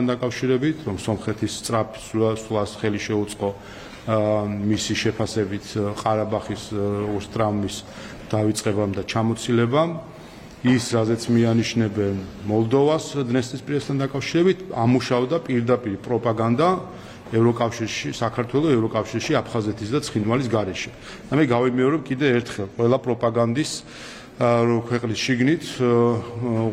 დაკავშირებით, რომ სომხეთის სწრაფ სვლას ხელი შეუწყო მისი შეფასებით ყარაბაღის უსტრავმის დავიწყებამ და ჩამოცილებამ, ის რაზეც მიანიშნებენ მოლდოვას დნესტრისპირესთან დაკავშირებით, ამუშავდა პირდაპირ პროპაგანდა ევროკავშირში, საქართველოს ევროკავშირში, აფხაზეთის და ცხინვალის გარეშე. და მე გავიმეორებ კიდე ერთხელ, ყველა პროპაგანდის ქვეყნის შიგნით,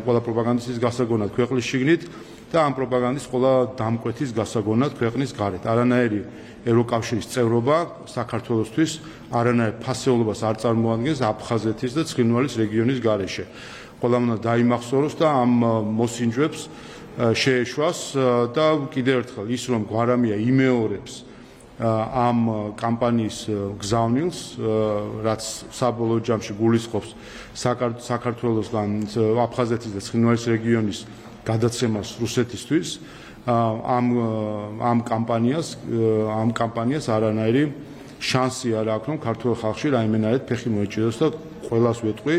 ყველა პროპაგანდისტის გასაგონად ქვეყნის შიგნით და ამ პროპაგანდის ყველა დამკვეთის გასაგონად ქვეყნის გარეთ. არანაირი ევროკავშირის წევრობა საქართველოსთვის არანაირ ფასეულობას არ წარმოადგენს აფხაზეთის და ცხინვალის რეგიონის გარეშე. ყველამ უნდა დაიმახსოვროს და ამ მოსინჯვებს შეეშვას და კიდევ ერთხელ ის რომ გვარამია იმეორებს ამ კამპანიის გზავნილს, რაც საბოლოო ჯამში გულისხმობს საქართველოსგან აფხაზეთის და ცხინვალის რეგიონის გადაცემას რუსეთისთვის, ამ კამპანიას არანაირი შანსი არ აქვს, რომ ქართულ ხალხში რაიმენარად ფეხი მოეჭიდოს და ყველას ვეტყვი,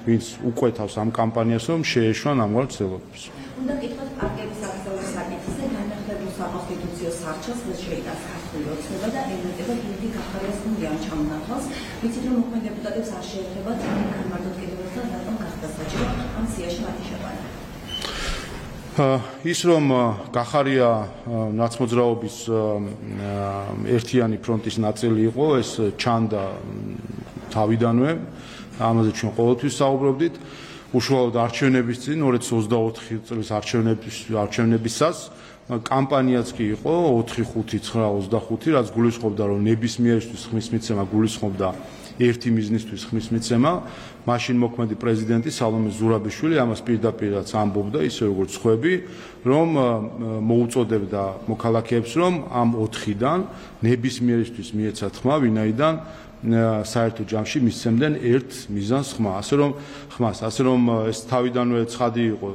ვინც უკვეთავს ამ კამპანიას, რომ შეეშვან ამგვარ ცდილობებს. უნდა კითხოთ პარტიების აკრძალვის საკითხზე განახლებულ საკონსტიტუციო სარჩელს შეიტანს ქართული ოცნება და ელემენტებად დიდი გახარებას უნდიან ჩამონათვალს, ვიცით რომ მოქმედ დეპუტატებს არ შეეძლებათ განმარტოთ კიდევ ერთხელ რატომ გახდა საჭირო ამ სიაში მათი შეყვანა. ის რომ გახარია ნაცმოძრაობის ერთიანი ფრონტის ნაწილი იყო, ეს ჩანდა თავიდანვე, ამაზე ჩვენ ყოველთვის საუბრობდით. უშუალოდ არჩევნების წინ 2024 წლის არჩევნებისას კამპანიაც კი იყო 4-5-9-25, რაც გულისხმობდა, რომ ნებისმიერისთვის ხმის მიცემა გულისხმობდა ერთი მიზნისთვის ხმის მიცემა. მაშინ მოქმედი პრეზიდენტი სალომე ზურაბიშვილი ამას პირდაპირაც ამბობდა, ისე როგორც სხვები, რომ მოუწოდებდა მოქალაქეებს, რომ ამ 4-დან ნებისმიერისთვის მიეცათ ხმა, ვინაიდან საერთო ჯამში მისცემდნენ ერთ მიზანს ხმას, ასე რომ ეს თავიდანვე ცხადი იყო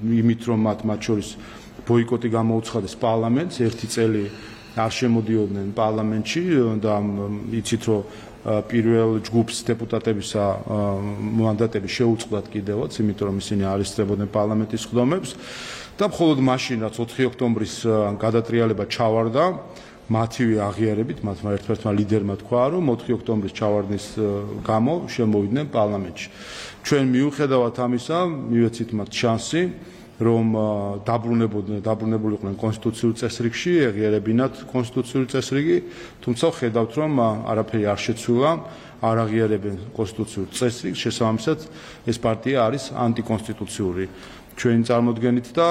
იმით, რომ მათ შორის ბოიკოტი გამოუცხადეს პარლამენტს, ერთი წელი არ შემოდიოდნენ პარლამენტში და იცით, რომ პირველ ჯგუფს დეპუტატებისა მანდატები შეუწყდათ კიდევაც, იმიტომ რომ ისინი არ ესწრებოდნენ პარლამენტის სხდომებს და მხოლოდ მაშინ, რაც 4 ოქტომბრის გადატრიალება ჩავარდა, მათივე აღიარებით, მათმა ერთ-ერთმა ლიდერმა თქვა, რომ 4 ოქტომბრის ჩავარდნის გამო შემოვიდნენ პარლამენტში. ჩვენ მიუხედავად ამისა, მივეცით მათ შანსი, რომ დაბრუნებულიყვნენ კონსტიტუციურ წესრიგში, ეღიარებინათ კონსტიტუციური წესრიგი, თუმცა ხედავთ, რომ არაფერი არ შეცვლილა, არ აღიარებენ კონსტიტუციურ წესრიგს, შესაბამისად ეს პარტია არის ანტიკონსტიტუციური. ჩვენი წარმოდგენით და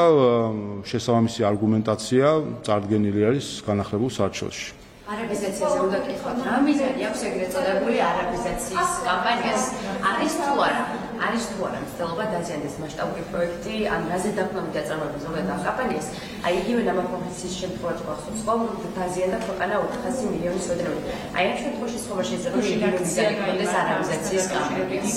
შესაბამისი არგუმენტაცია წარდგენილი არის განახლებულ სარჩელში. არაბიზაციაზე უნდა კითხოთ, რა მიზანი აქვს ეგრეთ წოდებული არაბიზაციის კამპანიას? არის თუ არა მცდელობა დაზიანდეს მასშტაბური პროექტი, ან რაზე დაყრდნობით აწარმოებს ზოგადად ამ კამპანიას? აი იგივე ნამახვამსის შემთხვევაში გვახსოვს, რომ დაზიანდა ქვეყანა 400 მილიონის ოდენობით. აი ამ შემთხვევაში სხვა შეიძლება რომ იგივე მიზანი ჰქონდეს არაბიზაციის კამპანიას.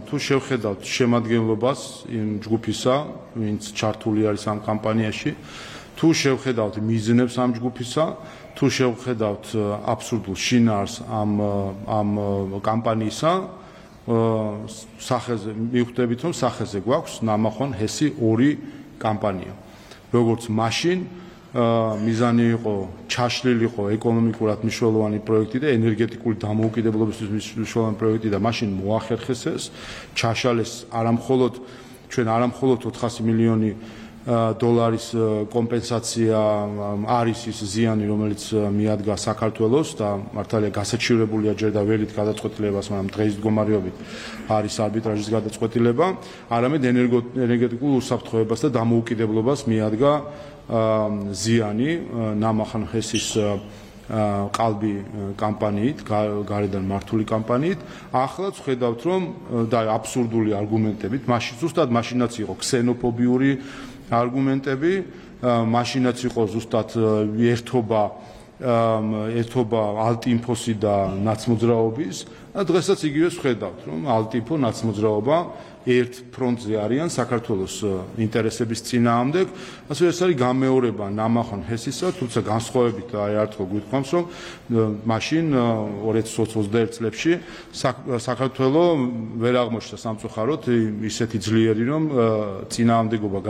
თუ შევხედავთ შემადგენლობას იმ ჯგუფისა, ვინც ჩართული არის ამ კამპანიაში, თუ შევხედავთ მიზნებს ამ ჯგუფისა, თუ შევხედავთ აბსურდულ შინაარს ამ კამპანიისა, სახეზე მივხვდებით, რომ სახეზე გვაქვს ნამახვან ჰესი 2 კამპანია. როგორც მაშინ მიზანი იყო ჩაშლილიყო ეკონომიკურად მნიშვნელოვანი პროექტი და ენერგეტიკული დამოუკიდებლობისთვის მნიშვნელოვანი პროექტი და მაშინ მოახერხეს ეს, ჩაშალეს არამხოლოდ 400 მილიონი დოლარის კომპენსაცია არის ის ზიანი, რომელიც მიადგა საქართველოს და მართალია გასაჩივრებულია ჯერ და ველით გადაწყვეტილებას, მაგრამ დღეის მდგომარეობით არის არბიტრაჟის გადაწყვეტილება, არამედ ენერგეტიკულ უსაფრთხოებას და დამოუკიდებლობას მიადგა ზიანი ნამახან ჰესის ყალბი კამპანიით, გარედან მართული კამპანიით. ახლაც ხედავთ, რომ და აბსურდული არგუმენტებით, ზუსტად მაშინაც იყო ქსენოფობიური არგუმენტები, მაშინაც იყო ზუსტად ერთობა ალტინფოსი და ნაცმოძრაობის და დღესაც იგივე ვხედავთ, რომ ალტინფო ნაცმოძრაობა ერთ ფრონტზე არიან საქართველოს ინტერესების წინააღმდეგ, ასე ეს არის გამეორება ნამახვან ჰესისა, თუმცა განსხვავებით აი არტყო გვიყვანს, რომ მაშინ 2021 წლებში საქართველოს ვერ აღმოჩნდა სამწუხაროდ ისეთი ძლიერი, რომ წინააღმდეგობა